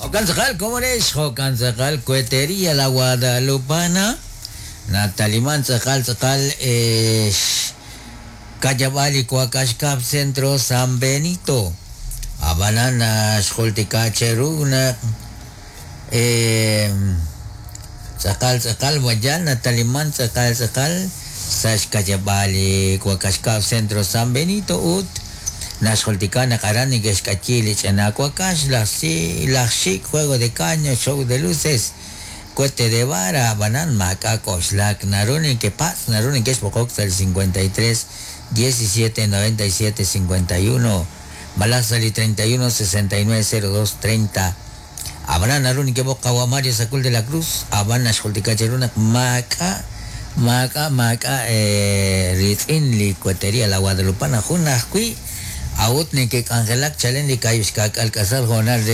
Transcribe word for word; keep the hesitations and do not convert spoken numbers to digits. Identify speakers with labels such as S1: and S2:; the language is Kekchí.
S1: Jo'kan tz'aqal, komonex, jo'kan tz'aqal, Cuetería La Guadalupana, Nataliman tz'aqal tz'aqal eh, kayab'al li Wakax Kab Centro San Benito. Ab'anan xjultika cheru naq eh, tz'aqal tz'aqal wayan nataliman tz'aqal tz'aqal sa' xkayab'al li Wakax Kab Centro San Benito ut naxjultika naq aran neke'xk'ayi li ch'ina wakax laj si laj xik juego de caño show de luces cohete de vara ab'anan maak'a' k'oxlak naru nekepatz' naru neke'xb'oqok sa' li cincuenta y tres diecisiete noventa y siete cincuenta y uno malaj sa' li treinta y uno sesenta y nueve cero dos treinta. Ab'anan naru nekeb'oq qawa Mario Sacul de la Cruz ab'an naxjultika cheru naq maak'a' maak'a' maak'a' eh, ritz'in li Cuetería La Guadalupana jun ajwi' awut nekek'anjelak chalen li kayuxkak'al k'asal hoonal re